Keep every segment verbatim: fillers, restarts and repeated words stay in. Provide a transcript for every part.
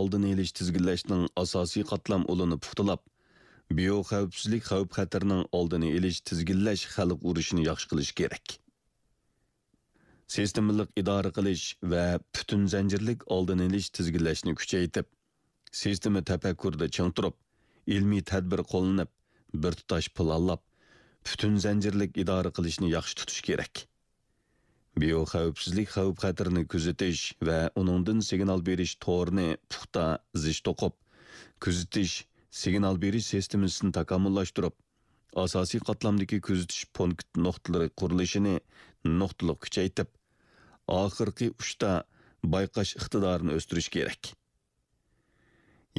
ئالدىنى ئېلىش، تىزگىنلەشنىڭ ئاساسىي قاتلام ئۇلىنى پۇختىلاپ، بىيو خەۋپسىزلىك خەۋپ-خەتىرىنىڭ ئالدىنى ئېلىش، تىزگىنلەش، خەلق ئۇرۇشىنى ياخشى قىلىش كېرەك. سىستېمىلىق ئىدارە قىلىش ۋە پۈتۈن زەنجىرلىك ئالدىنى ئېلىش، تىزگىنلەشنى كۈچەيتىپ، سىستېما تەپەككۇرىدا چىڭ تۇرۇپ، ئىلمىي تەدبىر قوللىنىپ، بىر تۇتاش پىلانلاپ، پۈتۈن زەنجىرلىك ئىدارە قىلىشنى ياخشى تۇتۇش كېرەك. بىيو خەۋپسىزلىك خەۋپ-خەتىرىنى كۆزىتىش ۋە ئۇنىڭدىن سىگنال بېرىش تورىنى پۇختا زىچ توقۇپ، كۆزىتىش، سىگنال بېرىش سىستېمىسىنى تاكامۇللاشتۇرۇپ، ئاساسىي قاتلامدىكى كۆزىتىش پونكىت نۇقتىلىرى قۇرۇلۇشىنى نۇقتىلىق كۈچەيتىپ، ئاخىرقى ئۇچتا بايقاش ئىقتىدارىنى ئۆستۈرۈش كېرەك.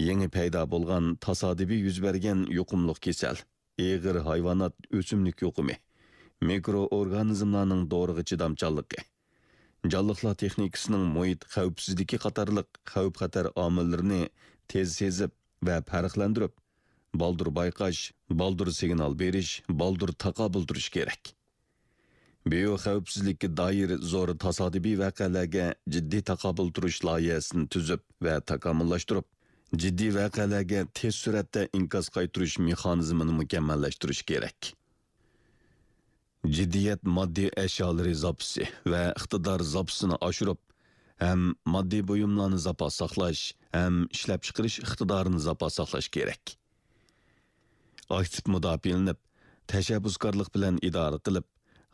يېڭى پەيدا بولغان تاسادىپىي يۈز بەرگەن يۇقۇملۇق كېسەل، ئېغىر ھايۋانات، ئۆسۈملۈك يۇقۇمى، مىكرو ئورگانىزملارنىڭ دورىغا چىدامچانلىقى، جانلىقلار تېخنىكىسىنىڭ مۇھىت خەۋپسىزلىكى قاتارلىق خەۋپ-خەتەر ئامىللىرىنى تېز سېزىپ ۋە پەرقلەندۈرۈپ، بالدۇر بايقاش، بالدۇر سىگنال بېرىش، بالدۇر تاقابىل تۇرۇش كېرەك. بىيو خەۋپسىزلىككە دائىر زور تاسادىپىي ۋەقەلەرگە جىددىي تاقابىل تۇرۇش لايىھەسىنى تۈزۈپ ۋە تاكامۇللاشتۇرۇپ، جىددىي ۋەقەلەرگە تېز سۈرئەتتە ئىنكاس قايتۇرۇش مېخانىزمىنى مۇكەممەللەشتۈرۈش كېرەك. جىددىيەت ماددىي ئەشيالىرى زاپىسى ۋە ئىقتىدار زاپىسىنى ئاشۇرۇپ، ھەم ماددىي بۇيۇملارنى زاپاس ساقلاش، ھەم ئىشلەپچىقىرىش ئىقتىدارىنى زاپاس ساقلاش كېرەك. ئاكتىپ مۇداپىئەلىنىپ، تەشەببۇسكارلىق بىلەن ئىدارە قىلىپ،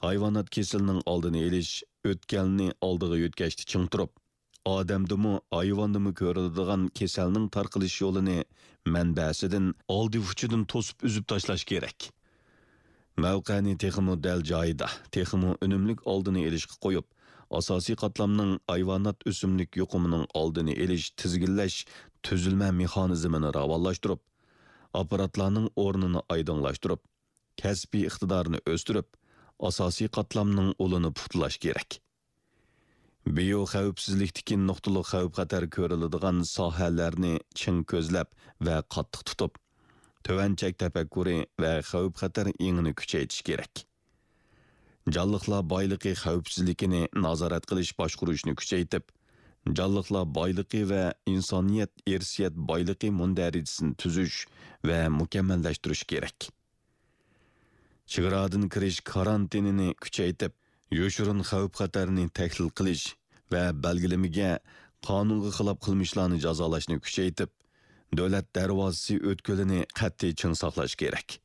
ھايۋانات كېسىلىنىڭ ئالدىنى ئېلىش، ئۆتكەلنى ئالدىغا يۆتكەشتە چىڭ تۇرۇپ، ئادەمدىمۇ، ھايۋاندىمۇ كۆرۈلىدىغان كېسەلنىڭ تارقىلىش يولىنى مەنبەسىدىن، ئالدى-ئۇچىدىن توسۇپ ئۈزۈپ تاشلاش كېرەك. مەۋقەنى تېخىمۇ دەل جايىدا، تېخىمۇ ئۈنۈملۈك ئالدىنى ئېلىشقا قويۇپ، ئاساسىي قاتلامنىڭ ھايۋانات، ئۆسۈملۈك يۇقۇمىنىڭ ئالدىنى ئېلىش، تىزگىنلەش، تۈزۈلمە مېخانىزمىنى راۋانلاشتۇرۇپ، ئاپپاراتلارنىڭ ئورنىنى ئايدىڭلاشتۇرۇپ، كەسپىي ئىقتىدارنى ئۆستۈرۈپ، ئاساسىي قاتلامنىڭ ئۇلىنى پۇختىلاش كېرەك. بىيو خەۋپسىزلىكتىكى نۇقتىلىق خەۋپ-خەتەر كۆرۈلىدىغان ساھەلەرنى چىڭ كۆزلەپ ۋە قاتتىق تۇتۇپ، تۆۋەن چەك تەپەككۇرى ۋە خەۋپ-خەتەر ئېڭىنى كۈچەيتىش كېرەك. جانلىقلار بايلىقى خەۋپسىزلىكىنى نازارەت قىلىش باشقۇرۇشنى كۈچەيتىپ، جانلىقلار بايلىقى ۋە ئىنسانىيەت ئىرسىيەت بايلىقى مۇندەرىجىسىنى تۈزۈش ۋە مۇكەممەللەشتۈرۈش كېرەك. چېگرادىن كىرىش كارانتىنىنى كۈچەيتىپ، يوشۇرۇن خەۋپ-خەتەرنى تەھلىل قىلىش ۋە بەلگىلىمىگە قانۇنغا خىلاپ قىلمىشلارنى جازالاشنى كۈچەيتىپ، دۆلەت دەرۋازىسى ئۆتكىلىنى قەتئىي چىڭ ساقلاش كېرەك.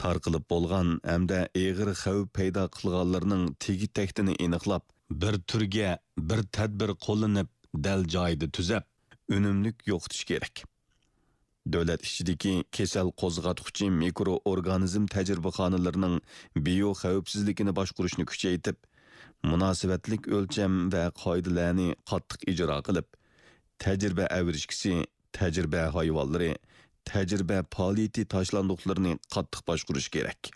تارقىلىپ بولغان ھەمدە ئېغىر خەۋپ پەيدا قىلغانلىرىنىڭ تېگى-تەكتىنى ئېنىقلاپ، بىر تۈرگە بىر تەدبىر قوللىنىپ، دەل جايىدا تۈزەپ، ئۈنۈملۈك يوقىتىش كېرەك. دۆلەت ئىچىدىكى كېسەل قوزغاتقۇچى مىكرو ئورگانىزم تەجرىبىخانىلىرىنىڭ بىيو خەۋپسىزلىكىنى باشقۇرۇشنى كۈچەيتىپ، مۇناسىۋەتلىك ئۆلچەم ۋە قائىدىلەرنى قاتتىق ئىجرا قىلىپ، تەجرىبە ئەۋرىشكىسى، تەجرىبە ھايۋانلىرى، تەجرىبە پائالىيىتى تاشلاندۇقلىرىنى قاتتىق باشقۇرۇش كېرەك.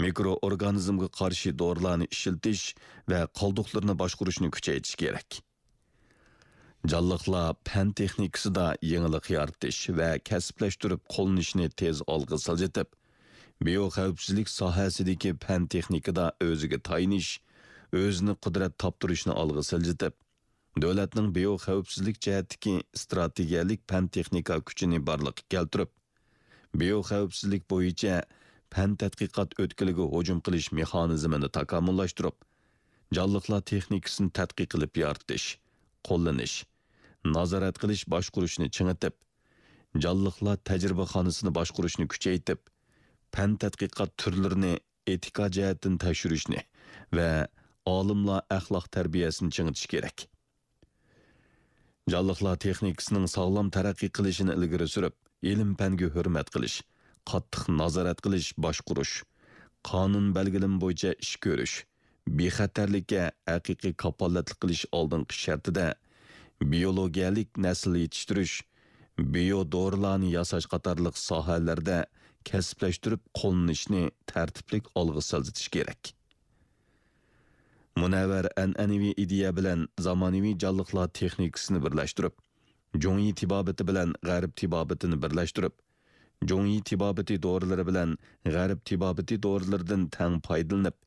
مىكرو ئورگانىزمغا قارشى دورىلارنى ئىشلىتىش ۋە قالدۇقلىرىنى باشقۇرۇشنى كۈچەيتىش كېرەك. جانلىقلار پەن تېخنىكىسىدا يېڭىلىق يارىتىش ۋە كەسىپلەشتۈرۈپ قوللىنىشنى تېز ئالغا سىلجىتىپ، بىيو خەۋپسىزلىك ساھەسىدىكى پەن تېخنىكىدا ئۆزىگە تايىنىش، ئۆزىنى قۇدرەت تاپتۇرۇشنى ئالغا سىلجىتىپ، دۆلەتنىڭ بىيو خەۋپسىزلىك جەھەتتىكى ئىستراتېگىيەلىك پەن تېخنىكا كۈچىنى بارلىققا كەلتۈرۈپ، بىيو خەۋپسىزلىك بويىچە پەن تەتقىقات ئۆتكىلىگە ھۇجۇم قىلىش مېخانىزمىنى تاكامۇللاشتۇرۇپ، جانلىقلار تېخنىكىسىنى تەتقىق قىلىپ يارىتىش، قوللىنىش، نازارەت قىلىش باشقۇرۇشنى چىڭىتىپ، جانلىقلار تەجرىبىخانىسىنى باشقۇرۇشنى كۈچەيتىپ، پەن تەتقىقات تۈرلىرىنى ئېتىكا جەھەتتىن تەكشۈرۈشنى ۋە ئالىملار ئەخلاق تەربىيەسىنى چىڭىتىش كېرەك. جانلىقلار تېخنىكىسىنىڭ ساغلام تەرەققىي قىلىشىنى ئىلگىرى سۈرۈپ، ئىلىم-پەنگە ھۆرمەت قىلىش، قاتتىق نازارەت قىلىش، باشقۇرۇش، قانۇن بەلگىلىمە بويىچە ئىش كۆرۈش، بىخەتەرلىككە ھەقىقىي كاپالەتلىك قىلىش ئالدىنقى شەرتىدە، بىيولوگىيەلىك نەسىل يېتىشتۈرۈش، بىيو دورىلارنى ياساش قاتارلىق ساھەلەردە كەسىپلەشتۈرۈپ قوللىنىشنى تەرتىپلىك ئالغا سىلجىتىش كېرەك. مۇنەۋۋەر ئەنئەنىۋى ئىدىيە بىلەن زامانىۋى جانلىقلار تېخنىكىسىنى بىرلەشتۈرۈپ، جۇڭيى تېبابىتى بىلەن غەرب تېبابىتىنى بىرلەشتۈرۈپ، جۇڭيى تېبابىتى دورىلىرى بىلەن غەرب تېبابىتى دورىلىرىدىن تەڭ پايدىلىنىپ،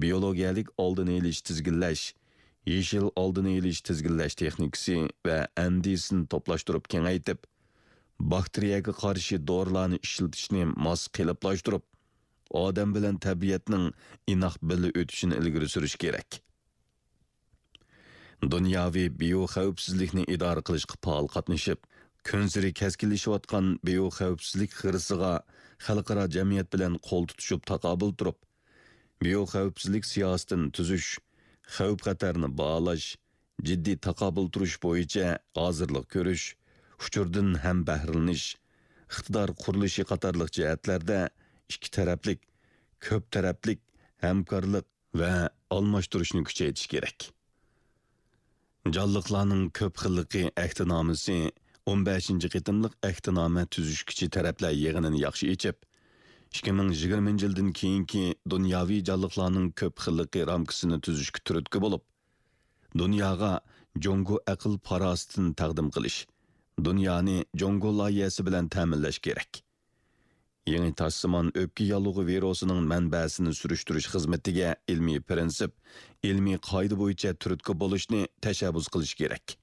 بىيولوگىيەلىك ئالدىنى ئېلىش، تىزگىنلەش، يېشىل ئالدىنى ئېلىش تىزگىنلەش تېخنىكىسى ۋە ئەندىزىسىنى توپلاشتۇرۇپ كېڭەيتىپ، باكتېرىيەگە قارشى دورىلارنى ئىشلىتىشنى ماس قېلىپلاشتۇرۇپ، ئادەم بىلەن تەبىئەتنىڭ ئىناق بىللە ئۆتۈشىنى ئىلگىرى سۈرۈش كېرەك. دۇنياۋى بىيو خەۋپسىزلىكنى ئىدارە قىلىشقا پائال قاتنىشىپ، كۈنسېرى كەسكىنلىشىۋاتقان بىيو خەۋپسىزلىك خىرىسىغا خەلقئارا جەمئىيەت بىلەن قول تۇتۇشۇپ تاقابىل تۇرۇپ، بىيو خەۋپسىزلىك سىياسىتىنى تۈزۈش، خەۋپ خەتەرنى باھالاش، جىددىي تاقابىل تۇرۇش بويىچە ھازىرلىق كۆرۈش، ئۇچۇردىن ھەمبەھرىلىنىش، ئىقتىدار قۇرۇلۇشى قاتارلىق جەھەتلەردە ئىككى تەرەپلىك، كۆپ تەرەپلىك ھەمكارلىق ۋە ئالماشتۇرۇشنى كۈچەيتىش كېرەك. جانلىقلارنىڭ كۆپ خىللىقى ئەھدىنامىسى ئون بەشىنچى قېتىملىق ئەھدىنامە تۈزۈشكۈچى تەرەپلەر يىغىنىنى ياخشى ئېچىپ، ئىككى مىڭ يىگىرمىنچى يىلدىن كېيىنكى دۇنياۋى جانلىقلارنىڭ كۆپ خىللىقى رامكىسىنى تۈزۈشكە تۈرتكە بولۇپ، دۇنياغا جۇڭگو ئەقىل پاراسىتىنى تەقدىم قىلىش، دۇنيانى جۇڭگو لايىھەسى بىلەن تەمىنلەش كېرەك. يېڭى تاشسىمان ئۆپكە ياللۇغى ۋىرۇسىنىڭ مەنبەسىنى سۈرۈشتۈرۈش خىزمىتىگە ئىلمىي پىرىنسىپ، ئىلمىي قائىدە بويىچە تۈرتكە بولۇشنى تەشەببۇس قىلىش كېرەك.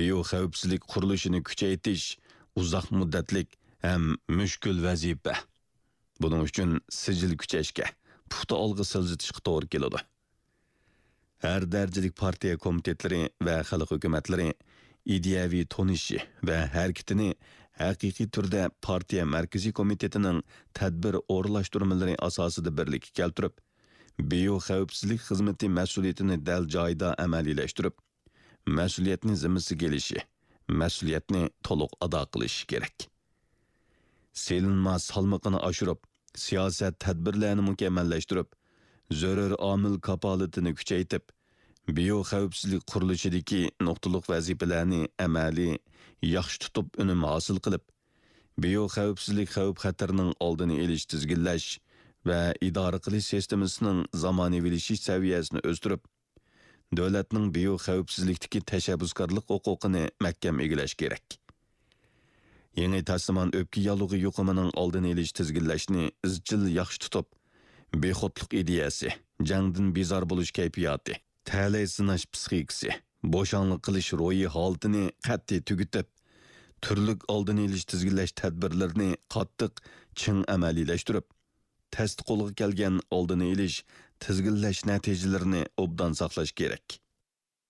بىيو خەۋپسىزلىك قۇرۇلۇشىنى كۈچەيتىش ئۇزاق مۇددەتلىك ھەم مۈشكۈل ۋەزىپە. بۇنىڭ ئۈچۈن سىجىل كۈچەشكە، پۇختا ئالغا سىلجىتىشقا توغرا كېلىدۇ. ھەر دەرىجىلىك پارتىيە كومىتېتلىرى ۋە خەلق ھۆكۈمەتلىرى ئىدىيەۋى تونۇشى ۋە ھەرىكىتىنى ھەقىقىي تۈردە پارتىيە مەركىزىي كومىتېتىنىڭ تەدبىر ئورۇنلاشتۇرمىلىرى ئاساسىدا بىرلىككە كەلتۈرۈپ، بىيو خەۋپسىزلىك خىزمىتى مەسئۇلىيىتىنى دەل جايىدا ئەمەلىيلەشتۈرۈپ، مەسئۇلىيەتنى زىممىسىگە ئېلىشى، مەسئۇلىيەتنى تولۇق ئادا قىلىشى كېرەك. سېلىنما سالمىقىنى ئاشۇرۇپ، سىياسەت تەدبىرلەرنى مۇكەممەللەشتۈرۈپ، زۆرۈر ئامىل كاپالىتىنى كۈچەيتىپ، بىيو خەۋپسىزلىك قۇرۇلۇشىدىكى نۇقتىلىق ۋەزىپىلەرنى ئەمەلىي ياخشى تۇتۇپ ئۈنۈم ھاسىل قىلىپ، بىيو خەۋپسىزلىك خەۋپ خەتىرىنىڭ ئالدىنى ئېلىش، تىزگىنلەش ۋە ئىدارە قىلىش سىستېمىسىنىڭ زامانىۋىلىشىش سەۋىيەسىنى ئۆستۈرۈپ، دۆلەتنىڭ بىيو خەۋپسىزلىكتىكى تەشەببۇسكارلىق ھوقۇقىنى مەھكەم ئىگىلەش كېرەك. يېڭى تاشسىمان ئۆپكە ياللۇغى يۇقۇمىنىڭ ئالدىنى ئېلىش، تىزگىنلەشنى ئىزچىل ياخشى تۇتۇپ، بىخۇدلۇق ئىدىيەسى، جەڭدىن بىزار بولۇش كەيپىياتى، تەلەي سىناش پىسخىكىسى، بوشاڭلىق قىلىش روھىي ھالىتىنى قەتئىي تۈگىتىپ، تۈرلۈك ئالدىنى ئېلىش، تىزگىنلەش تەدبىرلىرىنى قاتتىق، چىڭ ئەمەلىيلەشتۈرۈپ، تەستە قولغا كەلگەن ئالدىنى ئېلىش، تىزگىنلەش نەتىجىلىرىنى ئوبدان ساقلاش كېرەك.